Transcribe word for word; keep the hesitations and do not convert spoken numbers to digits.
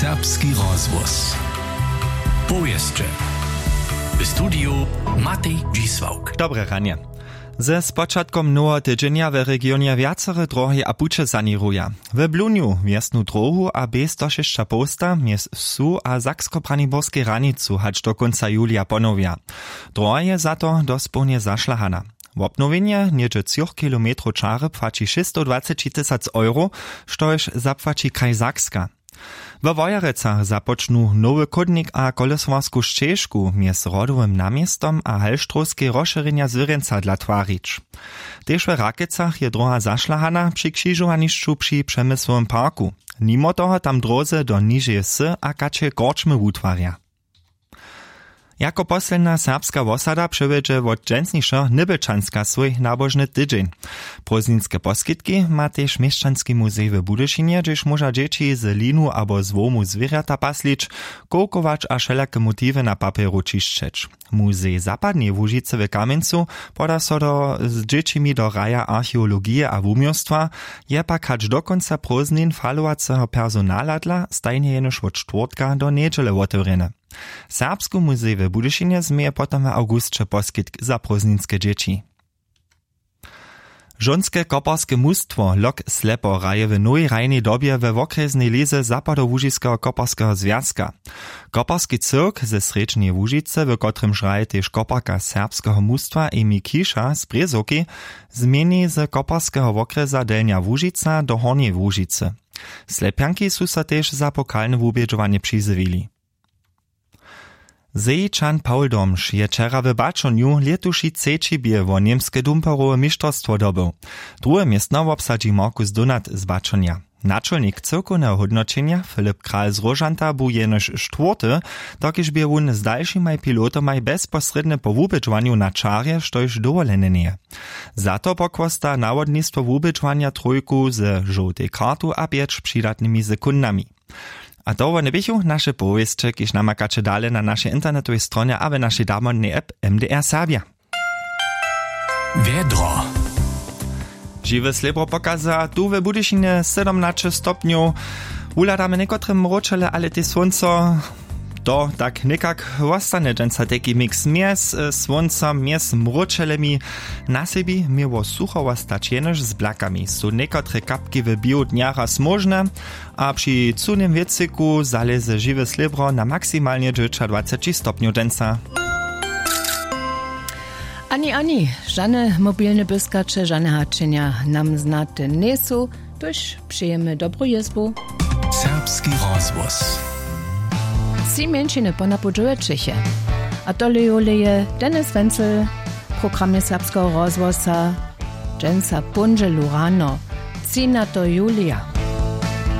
Serbski rozhłos. Powěsće. W studiju Matej Dźisławk. Dobre ranje. Ze spočatkom noweho tydźenja w regionje wjacore drohi a puće saněruja. W Blunju wjesnu dróhu a bě sto šěsć a połsta mjez wsu a sakskobraniborskej hranicu hač do kónca julija ponowja. Droha je za to dospołnje zašlahana. Wobnowjenje něhdźe třoch kilometrow čary płaći šěsćstowdwaceći tysac euro, štož zapłaći kraj Sakska. We Wojerecach započnu nowy chódnik a kolesowarsku šćežku mjez Rodowym naměstom a Halštrowskej rozšěrjenja zwěrjenca dla twarić. Tež we Rakecach je dróha zašlahana při křižowanišću při Přemyslowym parku. Nimo toho tam dróze do nižeje wsy a kačeje korčmy wutwarja. Jako posledna serbska wosada přewjedźe wot dźensnišeho Nybjelčanska swój nabožny tydźeń. Prózdninske poskitki ma tež měšćanski muzej w Budyšinje, hdźež móža dźěći z linu abo z hłomu zwěrjata paslić, kowkować a wšelake motiwy na papjeru ćišćeć. Muzej Zapadneje Łužicy w Kamjencu poda so do, z dźěćimi do raja archeologije a wuměłstwa, je pak hač do kónca prózdnin falowaceho personala dla stajnje jenož wot štwórtka do njedźele wotewrjeny. Serbski muzej w Budyšinje změje potom w awgusće poskitk za prózdninske dźěći. Žonske koparske mustwo Lok Slepo hraje w nowej hrajnej dobje we wokrjesnej lize Zapadołužiskeho koparskeho zwjazka. Koparski cyrk ze Srjedźneje Łužicy, w kotrymž hraje tež koparka serbskeho mustwa Emi Kiša z Brězowki, změni z koparskeho wokrjesa Delnja Łužica do Hornjeje Łužicy. Slepjanki su so tež za pokalne wubědźowanje přizjewili. Zejičan Paul Domš je wčera w Baćonju lětuši třeći bě wo němske dumperowe mišterstwo dobył. Druhe městno wobsadźi Markus Dunat z Baćonja. Načolnik cyłkowneho hódnoćenja Filip Kral z Róžanta bu jenož štwórty, dokelž bě wón z dalšimaj pilotomaj bezposrědnje po wubědźowanju na čarje, štož dowolene njeje. Za to pokłosta nawodnistwo wubědźowanja trójku ze žołtej kartu a pjeć přidatnymi sekundami. A to wone běchu naše powěsće, kiž namakaće dale na našej internetowej stronje a w našej damodnej app M D R Serbja. Wjedro. Žiwe slěbro pokaza tu w Budyšinje sydomnaće stopnjow. Wuhladamy někotre mróčele, ale tež słónco. To tak někak wostanje dźensa tajki mix mjez, e, słóncom, mjez mróčelemi. Na sebi měło sucho wostać jenož z blakami su někotre kapki w běhu dnja raz móžne. A při cyłnym wětřiku zalěze žiwe slěbro na maksimalnje dźewjećadwaceći stopnjow dźensa. Ani, ani, žane mobilne pyskaće, žane hačenja nam znate njejsu, tuž přejemy dobru jězbu. Serbski rozhłos. Tři mjeńšiny ponapoł dźewjećeche. A tole jóle je Dennis Wenzel, w programje Serbskeho rozhłosa, dźensa póndźelu rano, třinateho julija.